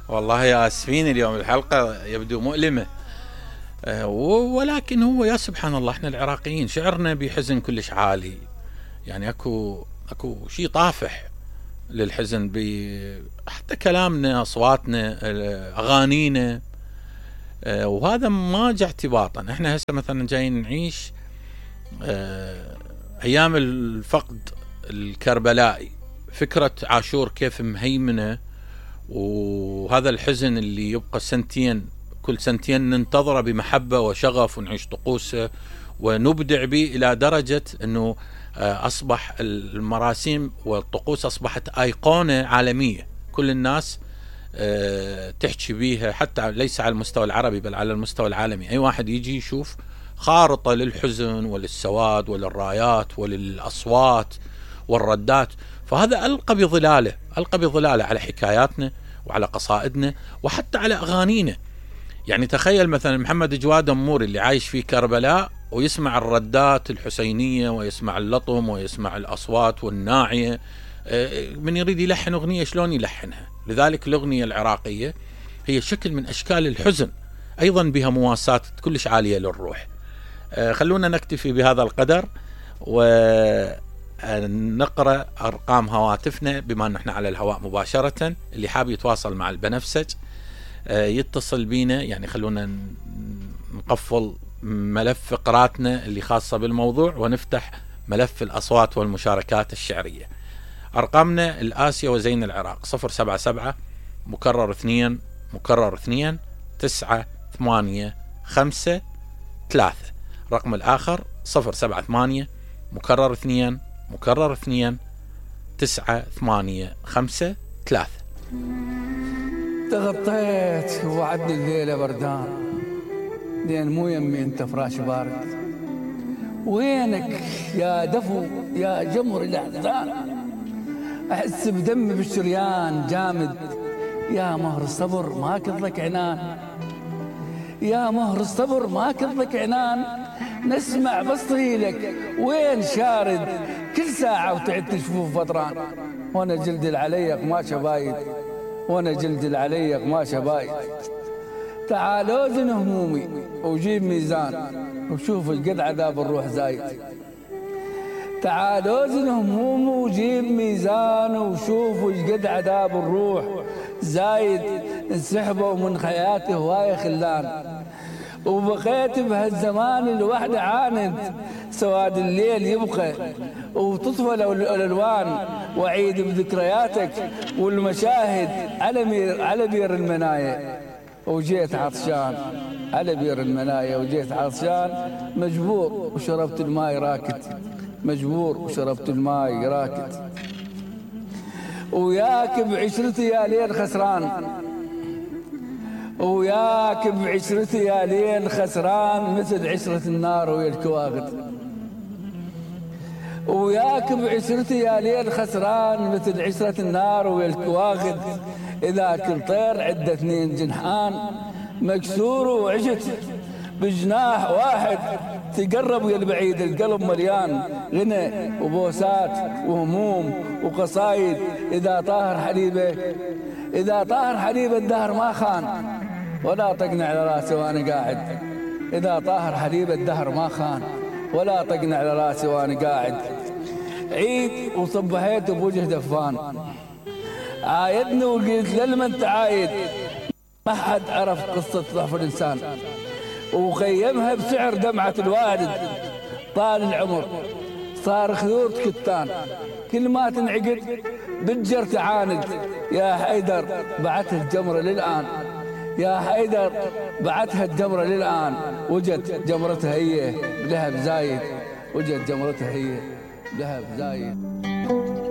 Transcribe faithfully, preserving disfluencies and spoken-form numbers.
والله يا اسفين اليوم الحلقة يبدو مؤلمة، أه ولكن هو يا سبحان الله احنا العراقيين شعرنا بحزن كلش عالي، يعني اكو اكو شيء طافح للحزن، حتى كلامنا، اصواتنا، اغانينا، أه وهذا ما جاء اعتباطا. احنا هسه مثلا جايين نعيش أه ايام الفقد الكربلائي، فكرة عاشور كيف مهيمنة، وهذا الحزن اللي يبقى سنتين، كل سنتين ننتظره بمحبة وشغف ونعيش طقوسه ونبدع به إلى درجة أنه أصبح المراسيم والطقوس أصبحت أيقونة عالمية، كل الناس تحكي بيها، حتى ليس على المستوى العربي بل على المستوى العالمي. أي واحد يجي يشوف خارطة للحزن وللسواد وللرايات وللأصوات والردات، فهذا ألقى بظلاله ألقى بظلاله على حكاياتنا وعلى قصائدنا وحتى على أغانينا. يعني تخيل مثلا محمد جواد أموري اللي عايش في كربلاء ويسمع الردات الحسينية ويسمع اللطم ويسمع الأصوات والناعية، من يريد يلحن أغنية شلون يلحنها؟ لذلك الأغنية العراقية هي شكل من أشكال الحزن، أيضا بها مواساة كلش عالية للروح. خلونا نكتفي بهذا القدر ونقرأ أرقام هواتفنا بما أن احنا على الهواء مباشرة. اللي حاب يتواصل مع البنفسج يتصل بينا، يعني خلونا نقفل ملف فقراتنا اللي خاصة بالموضوع ونفتح ملف الأصوات والمشاركات الشعرية. أرقامنا الآسيا وزين العراق صفر سبعة سبعة مكرر اثنين مكرر اثنين تسعة ثمانية خمسة ثلاثة. رقم الآخر صفر سبعة ثمانية مكرر اثنين مكرر اثنين تسعة ثمانية خمسة ثلاثة. تغطيت ووعدني الليلة بردان، لين مو يمي انت فراش بارد، وينك يا دفو يا جمر الأحزان، أحس بدمي بالشريان جامد، يا مهر الصبر ما كضلك عنان، يا مهر الصبر ما كضلك عنان، نسمع بس طريلك وين شارد، كل ساعة وتعد تشوف فطران، وانا جلد العليق ما شبايد، وانا جلد العليق ما شبايد. تعالوا زن همومي وجيب ميزان وشوف القد عذاب الروح زايد، تعالوا زن همومي وجيب ميزان وشوف القد عذاب الروح زايد. انسحبوا من حياتي هواية خلان، وبقيت بهالزمان الوحد عاند، سواد الليل يبقى وتطفى الألوان، وعيد بذكرياتك والمشاهد على مير على بير المنايا، وجيت عطشان على بير المنايا، وجيت عطشان مجبور وشربت الماي راكد، مجبور وشربت الماي راكد. وياك بعشرتي يا ليل خسران، وياك بعشرتي يا ليل خسران، مثل عشرة النار ويا الكواغد، وياك بعشرتي يا ليل خسران، مثل عشرة النار ويا الكواغد. إذا كل طير عدة اثنين جنحان، مكسور وعشت بجناح واحد، تقرب ويا البعيد القلب مليان غنى وبوسات وهموم وقصايد. إذا طاهر حليبه إذا طاهر حليبه الدهر ما خان، ولا طقني على راسي وانا قاعد، إذا طاهر حليبه الدهر ما خان، ولا طقني على راسي وانا قاعد. عيد وصبحيت بوجه دفان، عايدني وقلت للما انت عايد، ما حد عرف قصة ضعف الإنسان، وخيمها بسعر دمعة الوالد. طال العمر صار خيوط كتان، كل ما تنعقد بتجر تعاند. يا حيدر بعتها الجمرة للآن، يا حيدر بعتها الجمرة للآن، وجت جمرتها هي بلهب زايد، وجت جمرتها هي بلهب زايد.